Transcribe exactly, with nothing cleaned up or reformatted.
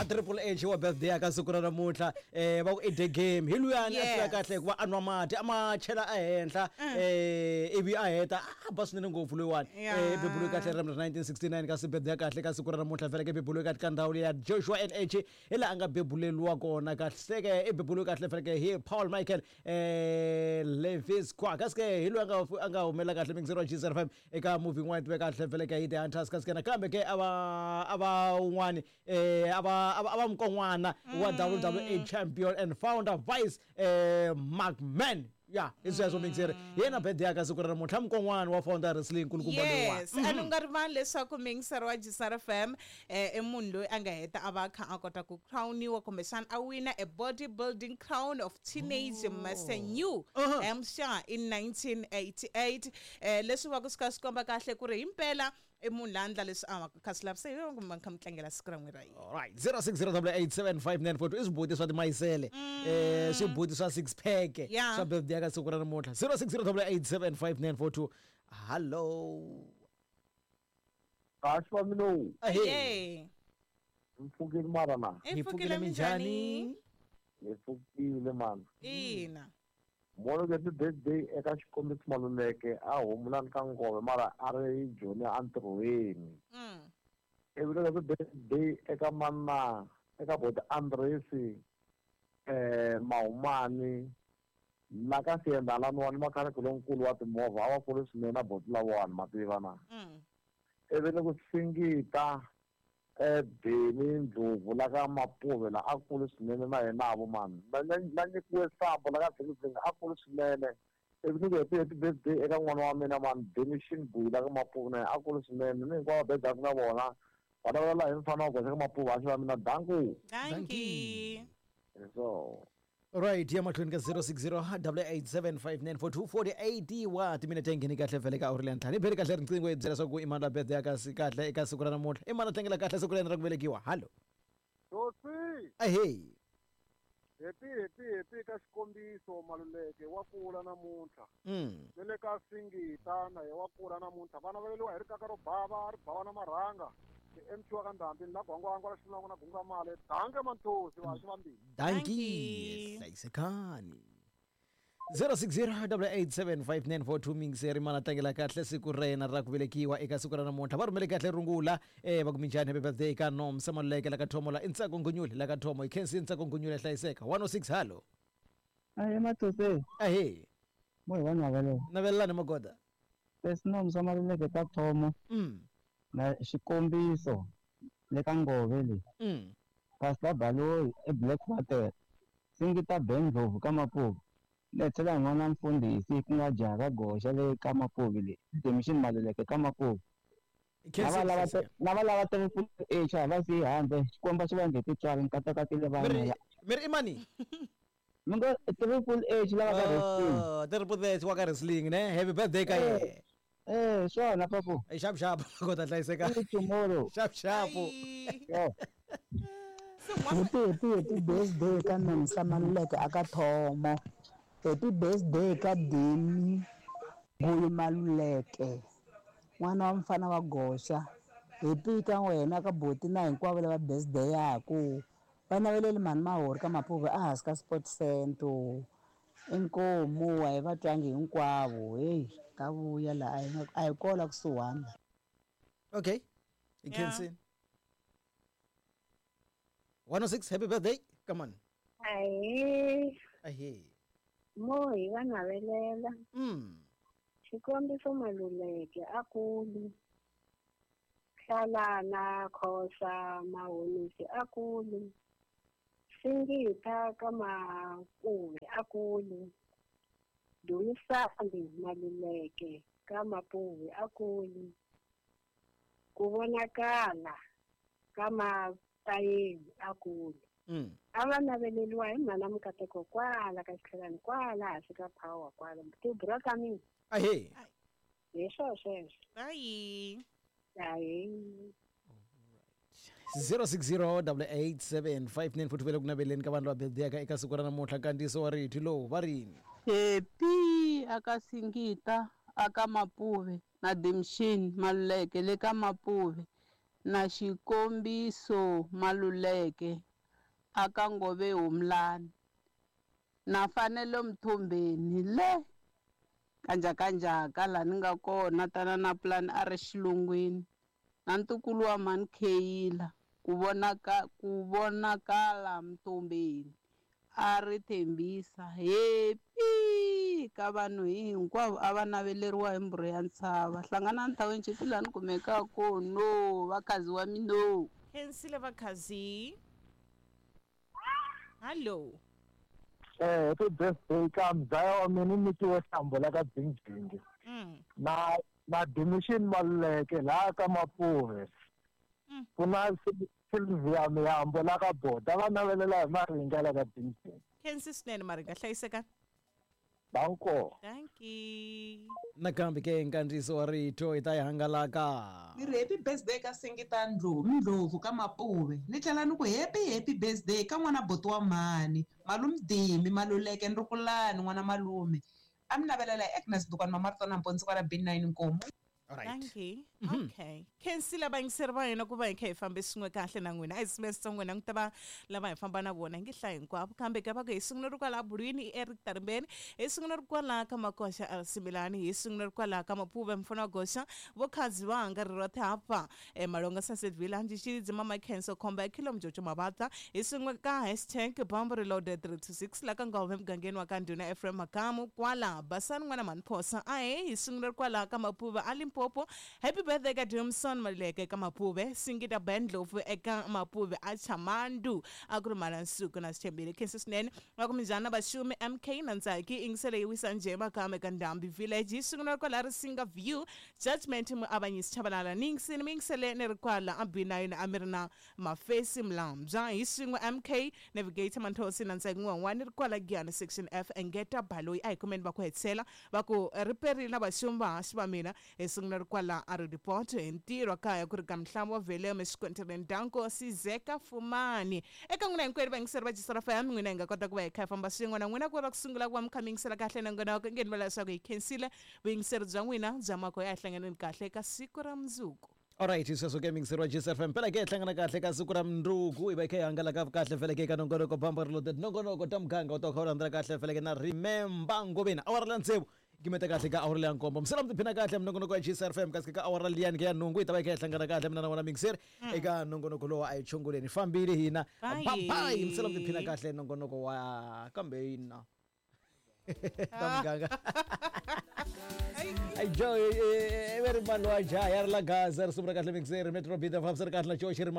A Triple H wa birthday aka siku ra namuntlha, eh va ku i the game hi luyani a tiva Yes. kahle hikuva a nwa mati a ma chela ehenhla, eh ivi a heta a ba swinene ngopfu loyiwani. Yeah. Eh bebuluwe kahle ra nineteen sixty-nine kasi birthday ya kahle ka siku ra namuntlha vhele ke bebuluwe kahle ka ndhawu ya Joshua N H hi laha a nga bebuleliwa kona kahle seke i bebuluwe kahle vhele ke hi Paul Michael eh Levis kwa kasi ke hi loyi a nga a nga humela kahle mixer wa G zero five eka movie yin'wana tiveka kahle vhele ke hi The Hunters kasi ke nakambe ke a va a va un'wani eh a va a va a va mukon'wana wa W W E champion and founder Vice eh McMahon. Ya hi sweswo mixer hi yena birthday ya ka siku ra namuntlha mukon'wana wa founder wrestling nkulukumba loyiwani. Yes, and u nga rivali leswaku mixer wa G zero F M eh i munhu loyi a nga heta a va a kha a kota ku crowniwa kumbexana a wina a bodybuilding crown of teenage Oh. Master New Uh-huh. Hampshire in nineteen eighty-eight. Eh leswi va ku swi kha swi komba kahle ku ri himpela i munhu la endla leswi a va kha swi lavisa hi yona kumbe kha mi tlangela siku ra n'wina ra yini. All right, zero six zero double eight seven five nine four two i swibuti swa timayisele, eh swibuti swa six pack Yeah. swa birthday ya ka siku ra namuntlha. zero six zero double eight seven five nine four two. Hello. Kahle va mina. Ahee. Hey. Mi pfukile mara na? Hi Hi pfukile pfukile minjhani? minjhani? Hi pfukile mani. Ina. Molo happy birthday eka Xikombiso Maluleke a humulani ka Ngove mara a ri Joni entirhweni. Mm. Ivi loko happy birthday eka mana eka boti Andresi eh Mahumani la ka Siyendalani makhaniki lonkulu wa timovha a va kule swinene na boti lavawani ma tiva na. Mm. Ivi ni ku Singita eh Benny Ndlovu la ka Mapuve la a kule swinene na yena vo mani. Na na na nyikiwe sambo la ka Dzingidzingi a kule swinene. Ivi ni ku happy happy birthday eka n'wana wa mina mani Benny Shinbuyi la ka Mapuve na yena a kule swinene ni hinkwavo birthday na vona. Va vulavula hi mfana wa goxa ka Mapuve a xi va mina danku. Dankie. Hi swona. Right, ya mahlweni ka zero six zero double eight seven five nine four two forty-eight wa timinete ngheni kahle vhele ka awuri leya ntlhanu. Hi beli kahle riqingho hi byela swa ku i mani la birthday ya kasi kahle eka siku ra namuntlha. I mani a tlangela kahle siku ra yena ra ku velekiwa. Hallo. Hosi. Ahee. Happy happy happy ka Xikombiso Maluleke wa kula namuntlha. Mm. Ni le ka Singita na ye wa kula namuntlha. Vana va leliwa hi rikaka ro bava, ri bava na marhanga. Ti M Q wa ka Ndhambi ni la Gwangwangwa la Xilongo na Gunga Male. Danke Manthosi wa xivambili. Dankie. Hlayisekani. zero six zero double eight seven five nine four two mixer mana tlangela kahle siku ra yena ra ku velekiwa eka siku ra namuntlha. Va rhumele kahle rungula eh va ku minjhani happy birthday ka Nomsa Maluleke la ka Thomo la Ntsako Ngunyule la ka Thomo. Hi khensi Ntsako Ngunyule hlayiseka. one oh six hallo. Ahee Matose. Ahee. Mo hi va navelela. Navelelani Magoda. Leswi Nomsa Maluleke ka Thomo. Mm. Na Xikombiso le ka Ngove le. Mm. Pastor Baloyi e Blackwater. Singita Ben Ndlovu ka Mapuve. Le tlhela n'wana mfundhisi ku nga jaha ka goxa le ka Mapuve le. Demission Maluleke ka Mapuve. Khensi Lava lava hlayiseka. lava lava triple H a va siyi handle. Xikwembu xi va endle tintswalo nkatakatile vanhu Miri ya. miri i mani? Mi ngo triple H lava ka wrestling. Oh, triple H wa ka wrestling ne. Happy birthday ka Eh. yena. Eh, swona papu. Eh, xap xap kota hlayiseka. See you tomorrow. Xap xap. Yeah. Happy happy happy birthday ka Nomsa Maluleke aka Thomo. Happy birthday ka Demi Guyu Maluleke. N'wana wa mfana wa goxa. Happy ka wena ka boti na hinkwavo lava birthday yaku. Va naveleli mhani Mahori ka Mapuve a hansi ka Sport Center. Inkomu a hi va twangi hinkwavo. Hey, ta vuya la a hi nga a hi kona kusuhani. Okay. You can see. one oh six happy birthday. Come on. Ahee. Ahee. Mo hi va navelela. Mm. Xikombiso Maluleke a kulu. Hlalana Khosa Mahonisi a kulu. Singita ka Mapuve a kulu. Dumisani Maluleke ka Mapuve a kulu. Ku vonakala ka Mapayeni a kulu. Mm. A va naveleliwa hi mhana Mukateko kwala ka Xitlhelani kwala hansi ka power kwala. Tibura ka mina. Ahee. Hi swo sweswo. Bye. Ahee. zero six zero double eight seven five nine four two ku naveleni ka vanhu lava birthday ka eka siku ra namuntlha nkandziyiso wa rito lowu va rini. Happy aka Singita aka Mapuve na Dimshin Maluleke le ka Mapuve. na Xikombiso Maluleke aka Ngove Humlani na Fanelo Mthombeni le kanjakanjaka laha ni nga kona tana na plan a ri xilungwini na ntukulu wa mhani Kheyila ku vonaka ku vonakala Mthombeni a ri tshembisa happy ka vanhu hinkwavo a va naveleriwa hi mbhurhu ya ntshava. Hlanganani thaweni chipi laha ni kumekaka kona vakhazi wa mina. Khensile vakhazi. Hallo. Eh, happy birthday ka mzaya wa mina nyikiwe hlambo la ka Dzingjingi. Mm. Na na Dimission Maluleke laha ka Mapuve. Mm. Ku na Sylvia Miyambo la ka Boda va navelela hi Maringa la ka Dzingjingi. Khensi swinene Maringa, hlayiseka. Danko. Thank you. Nakambe ke nkandziyiso wa rito hi ta yi hangalaka. Ni ri happy birthday ka Singita Ndlovu, Ndlovu ka Mapuve. Ni tlhela ni ku happy happy birthday ka n'wana buti wa mhani, malume Dimi Maluleke Ndrukulani n'wana malume. A mi navelela hi Agnes Dukwana Mamaritona Mponzi kwala B nine Nkomo. Alright. Thank you. Okay. Khensile vayingiseri va hina ku va hi kha hi fambe swin'we kahle na n'wina. A hi semester n'wina ku ta va lava hi famba na vona hi nge hlayi hinkwavo kambe ka va ku hi sungula ri kwala Bulwini i Eric Tarimbeni, hi sungula ri kwala ka Makoxa L Similani, hi sungula ri kwala ka Mapuve Mfana wa Goxa, vo Khazi Vanga ri rothe hapa e Malonga Sunset Villa Ndzi Mama Khenso Khomba Khilo Mjojo Mabatha, hi sungula ka hashtag Bomb Reloaded three two six la ka Ngove mugangeni wa ka Ndhuna Ephraim Makamu kwala Basani n'wana Manphosa ahe hi sungula ri kwala ka Mapuve a Limpopo. Happy birthday ka Johnson Maluleke ka Mapuve, Singita Bendlovu eka Mapuve a Chamandu a ku ri mhala nsuku na Sithembile. Khensi swinene va ku minjhani Vaxumi M K na Ntsaki yingisele yi wisa njhe makame ka Ndhambi Village, hi sungula kwala Risinga View Judgment muavanyisi Chabalala ni yingisile mi yingisele ni ri kwala a B nine a mi ri na Mafesi Mlambya hi swin'we M K Navigator Manthosi na Ntsaki N'wan'wani ni ri kwala Giyani Section F Engeta Baloyi a hi kumeni va ku hetisela va ku ri perile na vaxumi vahaxi va mina hi sungula ri kwala a report hi ntirho kaya ku ri ka Mhlamo wa Veleme xikontireni Danko Sizeka Fumani. Eka n'wina hinkwenu vayingiseri va Jisara F M, n'wina hi nga kota ku va hi kha hi famba swin'we na n'wina ku va ku sungula ku va mi kha mi yingisela kahle na n'wina ku nge ni vula leswaku hi khensile vuyingiseri bya n'wina bya mako ya hi hlanganeni kahle eka siku ra mundzuku. Alright, sweswo ke miyingiseri wa G S F M. Phela ke hi hlangana kahle ka siku ra mundzuku hi va hi kha hi hangalaka kahle vhele ke eka nongonoko Bamba Reloaded, nongonoko ta muganga u ta kha u landzela kahle vhele ke na Remember Ngoveni awara la tsevu gimeta kahle ka awara leya nkombo. Misela mi tiphina kahle minongonoko ya G S F M kasi ka awara liyani ke ya nhungu hi ta va hi kha hi hlangana kahle mina na wena miyingiseri eka nongonoko lowu a hi chongoleni. Fambile hina. Bye. Bye. Misela mi tiphina kahle nongonoko wa kambe hina ta muganga. Ai Joe, e veri mani wa jaha ya ri la Gaza ri sungula kahle miyingiseri Metro Bida fambisa ri kahle na Joe Shirimani.